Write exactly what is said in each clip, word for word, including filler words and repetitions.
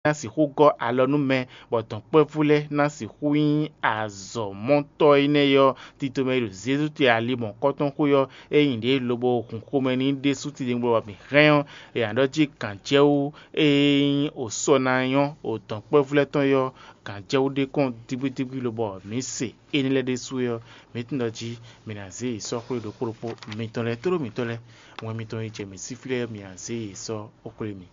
ná sixú gɔ́ alɔ nú mɛ, bɔ dɔ̌nkpɛvú lɛ́ɛ ná sixú nyí azɔ̌mɔtɔ́ énɛ́ ɔ́, tito mɛ e ɖo Zezú te ali mɔ̌kɔ́tɔn xwé ɔ́, é nyi ɖě lobo hun xomɛ n'i ɖésú titewungbe bɔ mǐ hɛn ɔ́, è nǎ ɖɔ jí gǎnjɛwú e nyí osɔ ná nyɔ́ o dɔ̌nkpɛvú lɛ́ɛ tɔn é ɔ́, gǎnjɛwú ɖé kɔn dígbídígbí lobɔ mǐ se énɛ́ lɛ́ɛ ɖésú é ɔ́, mǐ tunwun ɖɔ jí mǐ ná zé yě sɔ́ xwé ɖokpó ɖokpó mitɔn lɛ́ɛ tlóló mitɔn lɛ́ɛ, wɛn mitɔn e jɛ mǐ sí fí lɛ́ɛ ɔ́, mǐ ná zé yě sɔ́ xwé mì.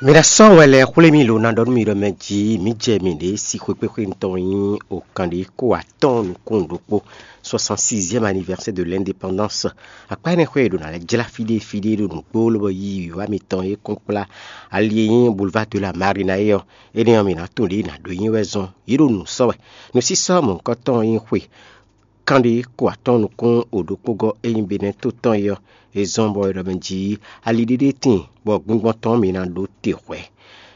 Mi ná sɔ́ wɛ lɛ́ɛ xwlé mì lo ná ɖɔ nú mi ɖɔ mɛ jí mǐ jɛ mǐɖée sí xwekpéxwé tɔn nyí okanɖé kó atɔ́ɔ́n nukún ɖokpó, soixante-sixième anniversaire de l'indépendance. Akpá énɛ́ xwé e ɖo ná lɛ́ jlá fíɖée fíɖée ɖo nǔgbó lobɔ yí wǐwá mitɔn e kɔn kplá ali e nyí Boulevard de la Marina é ɔ́, énɛ́ ɔ́, mǐ ná tunwun ɖě ná ɖó nyí wɛ zɔn. Yě ɖo nǔ sɔ́ wɛ. Nǔsísɔ́ mɔ̌hunkɔtɔn e nyí xwe kanɖé kó atɔ́ɔ́n nukún o ɖokpó gɔ́ e nyí Benɛ́to tɔn é ɔ́, é zɔ́n bɔ é ɖɔ mɛ jí ali ɖéɖé tíin bɔ gbingbɔn tɔn mǐ ná ɖó te hwɛ̌.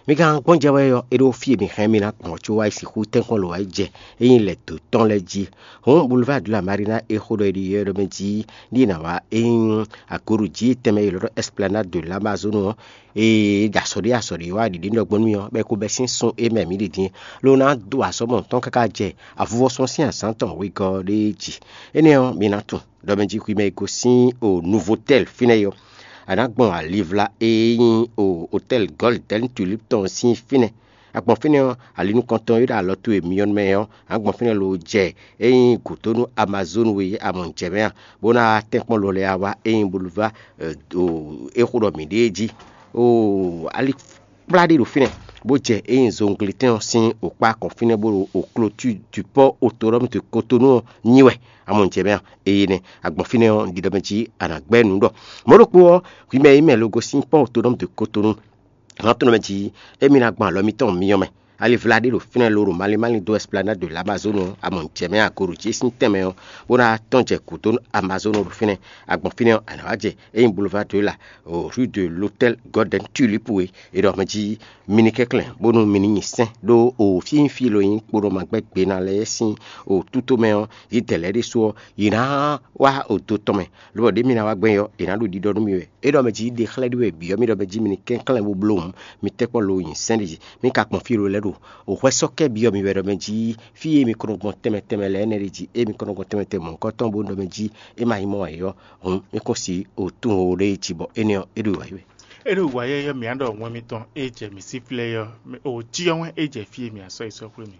Mi ka gbɔn jɛ wɛ ɔ́, é ɖó fí e mi hɛn mi ná gbɔn ɔ́ có wá yi sixú tɛ́nkpɔ́n lǒ wá yi jɛ é nyí lɛ̌ dǒ tɔn lɛ́ɛ jí. Hǔn Boulevard de la Marina e xo ɖɔ è ɖi yɛ ɖɔ mɛ jí ní è nǎ wá é nyí agoɖují tɛnmɛ e è ylɔ́ ɖɔ Esplanade de l'Amazone ɔ́, e ɖo asɔ̌ ɖé asɔ̌ ɖé wá ɖiɖi nú ɖɔ gbɔn nú mì ɔ́, bɔ é ko bɛ́ sín sun e mɛ mǐ ɖe din é, ló ná dó azɔ̌ mɔ̌huntɔn káká jɛ avuvɔ́sɔ́ sín azǎn tɔn wegɔ́ ɔ́ ɖéé jí. Énɛ́ ɔ́, mi ná tunw ɖɔ mɛ jí hwi mɛ e gosín o Novotel fínɛ́ é ɔ́, a nǎ gbɔn alivla e nyí o Hotɛ́l Gɔ́lidɛ́n Tulíp tɔn sín fínɛ́. A gbɔn fínɛ́ ɔ́, ali nukɔntɔn e ɖo alɔ towe myɔ mɛ ɔ́, a nǎ gbɔn fínɛ́ lo jɛ e nyí gǔdo nú Amazonu e a mɔ jɛ mɛ a, bó ná tɛ́nkpɔ́n lɔ lɛ́ɛ wá e nyí Boulevard é xo ɖɔ mǐ ɖe é jí. Oo, ali kplá ɖé ɖo fínɛ́, bó jɛ e nyí Zongletɛ́n ɔ́ sín wǒkpá kɔn fínɛ́ bó ɖo Clôture du Port Autonome de Cotonou ɔ́ nyi wɛ. A mɔ jɛ mɛ a? Eye nɛ́. A gbɔn fínɛ́ ɔ́, un ɖi ɖɔ mɛ jí a nǎ gbɛ́ nǔ ɖɔ mɔ̌ ɖokpó ɔ́, hwi mɛ e nyí mɛ logo sín Port Autonome de Cotonou, nǎ tunwun mɛ jí émí ná gbɔn alɔ mitɔn myɔ mɛ. Alivla ɖé ɖo fínɛ́ lóɖo malín málín dó Esplanade de l'Amazone ɔ́, a mɔ jɛ mɛ a? Goɖo jí sín tɛnmɛ ɔ́, bó ná tɔ́n jɛ gǔdo Amazone ɖo fínɛ́. A gbɔn fínɛ́ ɔ́, a nǎ wá jɛ e nyí Boulevard de la, rue de l'Hôtel Golden Tulip é. È ɖɔ mɛ jí mi ní kɛnklɛ́n bónú mi ní nyi sɛ́n ɖó o fínfín lo nyí kponɔmagbɛ́ gbená lɛ́ɛ sín o tútomɛ ɔ́, yědɛɛ lɛ́ɛ ɖésú ɔ́, yě ná wá odo tɔn mɛ, lobɔ ɖě mi ná wá gbɛn ɔ́, è nǎ ɖo ɖiɖɔ nú mi wɛ. É ɖɔ mɛ jí ɖe xlɛ́ ɖi wɛ bǐ ɔ́, mi ɖɔ mɛ jí mi ní kɛnklɛ́n bó bló hǔn, mi tɛ́ kpɔ́n lo nyi sɛ́n ɖé jí. Mi ka kpɔn fí lo lɛ́ɛ ɖo o hwɛ sɔ́ kɛ byɔ́ mi wɛ ɖɔ mɛ jí fí e mi ko nɔ gbɔn tɛnmɛ tɛnmɛ lɛ́ɛ nɛ́ ɖé jí, ée mi ko nɔ gbɔn tɛnmɛ tɛnmɛ mɔ̌hunkɔtɔn bó ɖɔ mɛ jí é ma nyí mɔ wɛ ɔ́, hǔn mi kún si o tún o ɖé jí bɔ énɛ́ ɔ́, é ɖo wǎ yi wɛ. É ɖo wǎ yɛ́yɛ́ mǐ á ɖɔ wɛn mitɔn e jɛ mǐ sí flɛ́ é ɔ́, o jí ɔ́ wɛn é jɛ fí e mǐ á sɔ́ yi sɔ́ xwé mì.